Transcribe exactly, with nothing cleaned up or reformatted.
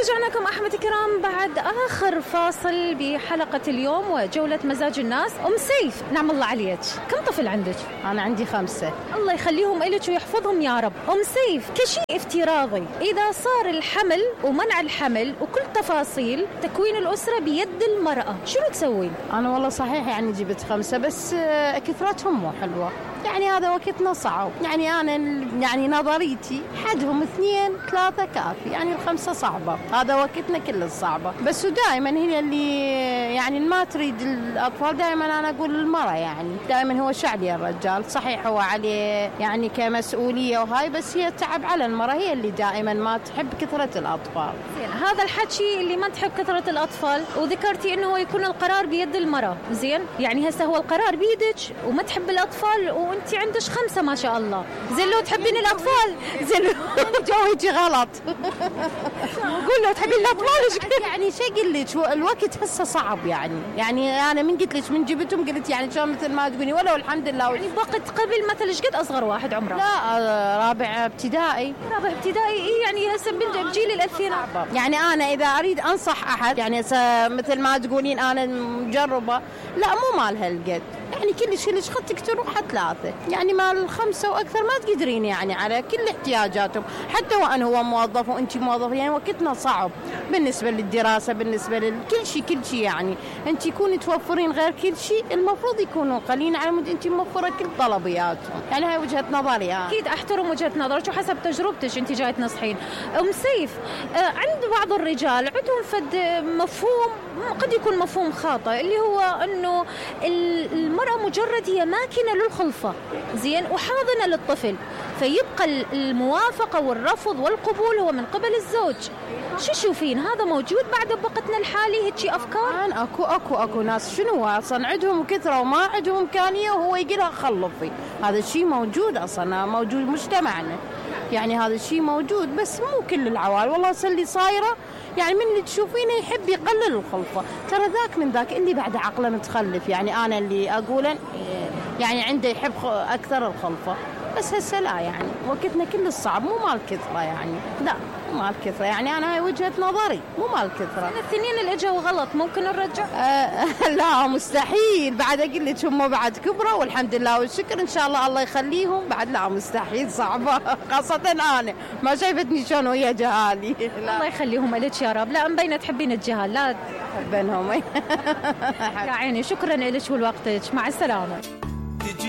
ورجعناكم أحمد الكرام بعد آخر فاصل بحلقة اليوم وجولة مزاج الناس. أم سيف، نعم الله عليك، كم طفل عندك؟ أنا عندي خمسة. الله يخليهم إلك ويحفظهم يا رب. أم سيف، كشيء افتراضي إذا صار الحمل ومنع الحمل وكل تفاصيل تكوين الأسرة بيد المرأة، شنو تسوين؟ أنا والله صحيح يعني جبت خمسة، بس كثرتهم مو حلوة، يعني هذا وقتنا صعب. يعني أنا يعني نظريتي حدهم اثنين ثلاثة كافي، يعني الخمسة صعبة، هذا وقتنا كل الصعبة. بس دائما هي اللي يعني ما تريد الأطفال، دائما أنا أقول المرأة، يعني دائما هو شعلي الرجال، صحيح هو عليه يعني كمسؤولية وهاي، بس هي تعب على المرأة، هي اللي دائما ما تحب كثرة الأطفال. هذا الحكي اللي ما تحب كثرة الأطفال، وذكرتي إنه يكون القرار بيد المرأة، زين؟ يعني هسه هو القرار بيدك وما تحب الأطفال وأنت عندك خمسة ما شاء الله، زين لو تحبين الأطفال، زين جوي غلط. قول لو تحبين الأطفال يعني شو أقول لك، الوقت هسه صعب، يعني يعني أنا من قلت لك من جبتهم قلت يعني شو مثل ما تقولي، ولو الحمد لله. يعني وقت قبل مثل ايش قد أصغر واحد عمره؟ لا رابع ابتدائي. رابع ابتدائي إيه، يعني هسه بجيل الألفينات. يعني أنا إذا أريد أنصح أحد، يعني مثل ما تقولين أنا مجربة، لا مو مال هالقد، يعني كل شيء ليش خدتك تروح ثلاثة، يعني مال الخمسة وأكثر ما تقدرين يعني على كل احتياجاتهم، حتى وأن هو موظف وأنت موظف، يعني وقتنا صعب بالنسبة للدراسة، بالنسبة لكل شيء كل شيء، يعني أنت يكوني توفرين غير كل شيء، المفروض يكونوا قليلين على مود أنت موفرة كل طلبياتهم، يعني هاي وجهة نظري. يعني أكيد أحترم وجهة نظرك وحسب تجربتك أنت جاي تنصحين. أم سيف، عند بعض الرجال عندهم فد مفهوم قد يكون مفهوم خاطئ، اللي هو أنه المرأة مجرد هي ماكينة للخلفة، زين، وحاضنة للطفل، فيبقى الموافقة والرفض والقبول هو من قبل الزوج. شو تشوفين هذا موجود بعد بوقتنا الحالي هيك أفكار؟ الآن أكو أكو أكو ناس شنو أصلا عندهم كثرة وما عندهم إمكانية وهو يقولها خلفي، هذا الشيء موجود أصلا، موجود مجتمعنا، يعني هذا الشيء موجود، بس مو كل العوائل. والله اللي صايرة يعني من اللي تشوفينه يحب يقلل الخلفة، ترى ذاك من ذاك اللي بعد عقله متخلف، يعني أنا اللي أقوله يعني عنده يحب أكثر الخلفة، بس هسه لا، يعني وقتنا كل الصعب، مو مال كثرة، يعني لا مو مال كثرة، يعني أنا هاي وجهة نظري، مو مال كثرة. الاثنين اللي اجوا غلط ممكن نرجع؟ آه لا مستحيل، بعد أقول لك هم بعد كبروا والحمد لله والشكر إن شاء الله الله يخليهم، بعد لا مستحيل، صعبة، خاصة أنا ما شايفتني شلون ويا جهالي. الله يخليهم لك يا رب. لا مبينة تحبين الجهال، لا بينهم. يا عيني، شكرا لك ولوقتك، مع السلامة.